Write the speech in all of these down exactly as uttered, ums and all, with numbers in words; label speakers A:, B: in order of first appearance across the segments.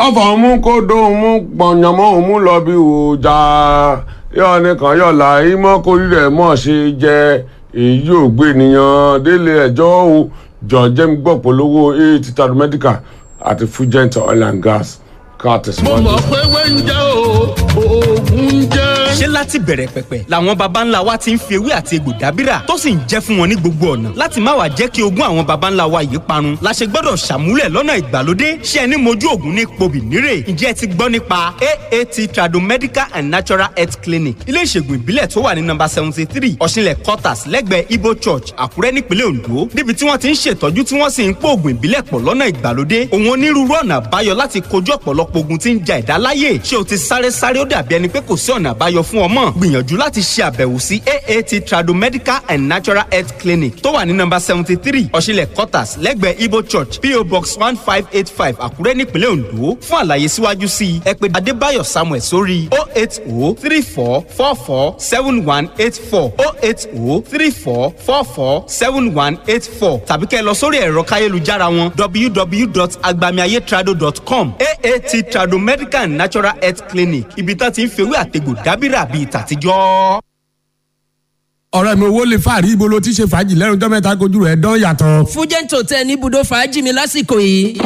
A: Ọfọ̀ mú kó dóhùn mú gbọ̀nyànmọ́ òun mú lọ bí òòjà yọ nìkan yọ̀là ìmọ̀ kórìí rẹ̀ mọ̀ ṣe jẹ èyí ò gbé nìyàn délé ẹjọ́ o. Jọ jẹ́mi gbọ́ polówó eight tadu medical àti Fugent Oil and Gas ká
B: Mo
A: tẹ̀síwájú.
B: mọ̀ pé wẹ́ńjẹ́ o, oògùn ń jẹ́.
C: Ṣé láti bẹ̀rẹ̀ pẹ̀pẹ̀ làwọn baba ńlá wa ti ń fi ewé àti egbò dábìrà tó sì ń jẹ́ fún wọn ní gbogbo ọ̀nà? Láti má wàá jẹ́ kí ogún àwọn baba ńlá wa yìí parun la ṣe gbọ́dọ̀ ṣàmúlẹ̀ lọ́nà ìgbàlódé. Ṣé ẹni mojú ògùn ní pobì nírè? Ǹjẹ́ ẹ ti gbọ́ nípa A A T Tradomedical and Natural Health Clinic, ilé ìṣègùn ìbílẹ̀ tó wà ní nọ́mbà seventy three Ọ̀ṣinlẹ̀ Quarters, lẹ́gbẹ̀ẹ́ Ibo Church, Àkúrẹ́, nípínlẹ̀ Ondo, níbi tí wọ́n ti ń ṣètọ́jú tí wọ́n sì ń pò ògùn ìbílẹ̀ pọ̀ lọ́nà ìgbàlódé, òun onírúurú ọ̀nà àbáyọ láti kojú ọ̀pọ̀lọpọ̀ ogun tí ń ja ẹ̀dá láyè? Ṣé o ti sáré sáré, ó dàbí ẹni pé kò sí ọ̀nà àbáyọ fún ọmọ? Gbìyànjú láti ṣe àbẹ̀wò sí A A T Tradomedical and Natural Health Clinic tó wà ní nọ́mbà seventy three Ọ̀ṣinlẹ̀ Quarters, lẹ́gbẹ̀ẹ́ Ibo Church, P O Box one five eight five, Àkúrẹ́, nípínlẹ̀ Ondo. Fún àlàyé síwájú sí i, ẹ pè Adébáyọ̀ Samuel sórí oh eight oh three four four four seven one eight four, oh eight oh three four four four seven one eight four, tàbí kẹ́ ẹ lọ sórí ẹ̀rọ káyélujára wọn, w w w dot agbamiayetrado dot com. A A T Tradomedical and Natural Health Clinic, ibi tá ti ń fewé àtegbò dábìrà bíi tàtijọ́.
A: Ọ̀rẹ́ mi, owó lè fàárí. Ibo ló ti ṣe fàájì lẹ́nu ọjọ́ mẹ́ta, kojú rẹ̀ dán yàtọ̀?
D: Fújẹ́ǹt Hotel ní ibùdó fàájì mi lásìkò yìí.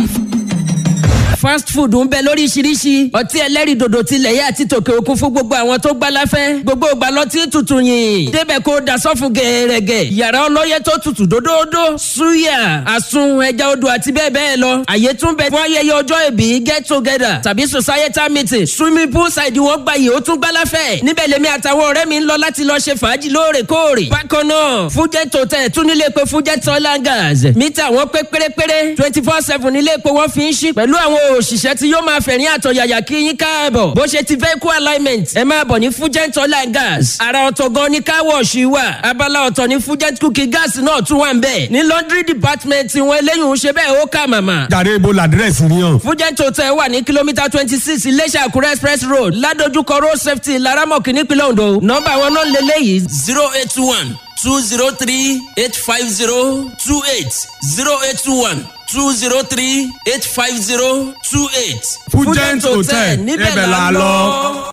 D: Fast food ń bẹ lóríṣiríṣi, ọtí ẹlẹ́rìndòdò tilẹ̀ yá àti tòkè òkun fún gbogbo àwọn tó gbá láfẹ́. Gbogbo ìgbà lọtí tutù yìn débẹ̀ kó dasọ́fún gẹ̀ẹ́rẹ́gẹ̀, yàrá ọlọ́yẹ tó tutù dódódó, suya, àsun ẹja odò àti bẹ́ẹ̀ bẹ́ẹ̀ lọ. Àyè tún bẹ fún ayẹyẹ ọjọ́ ìbí, get together tàbí societal meeting. Swimming pool side wọn gbayì, ó tún gbá láfẹ́. Níbẹ̀ lèmi àtàwọn ọ̀rẹ́ mi ń lọ láti lọ ṣe fàájì lóòrèkóòrè. Bákan náà, Fújẹ́ Hotel tún nílé epo Fújẹ́ Oil and Gas. Mítà wọn pé pérépéré, twenty four seven nílé epo wọn fi ń ṣí pẹ̀lú àwọn òṣìṣẹ́ tí yóò máa fẹ̀rín àtọ̀yàyà kí yín káàbọ̀. Bó ṣe ti vehicle alignment, ẹ máa bọ̀ ní Fugent Oil and Gas. Àrà ọ̀tọ̀ gan ni car wash wà. Abala ọ̀tọ̀ ní Fugent cooking gas náà tún wà ń bẹ̀. Ní laundry department wọn, eléyìí ń ṣe bẹ́ẹ̀, ó kà màmá.
A: Jàre, ibo làdírẹ́sì ni hàn?
D: Fugent Hotel wà ní kìlómítà twenty six, Iléṣà Àkúrẹ́ Express Road, ládojúkọ road safety, Laramọ̀kì, nípínlẹ̀ Ondo. Nọ́mbà wọn náà lélẹ́yìí:
E: zero eight one two zero three eight five zero two eight, zero eight one two zero three eight five zero two eight.
A: Fugent Hotel, níbẹ̀ la lọ.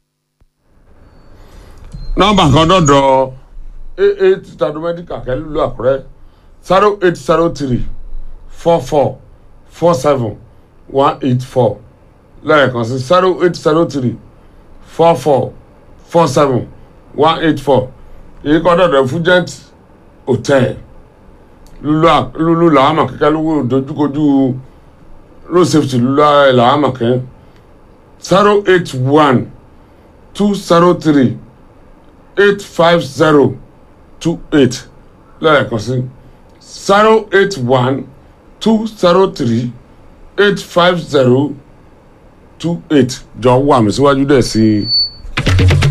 A: Nọ́mbà kan dọ̀dọ̀ eight Tradomedical kẹ́lú Àkúrẹ́: zero eight zero three four four four seven one eight four. Lẹ́ẹ̀kan sí, zero eight zero three four four four seven one eight four. Èyí kan dọ̀dọ̀ Fugent Hotel lulu làámà kẹ́kẹ́ lówó dojúkojú road safety lulu làámà kẹ́: zero eight one two zero three eight five zero two eight. Lẹ́ẹ̀kan sí, zero eight one two zero three eight five zero two eight. Jọ wà mí síwájú dẹ̀ sí i.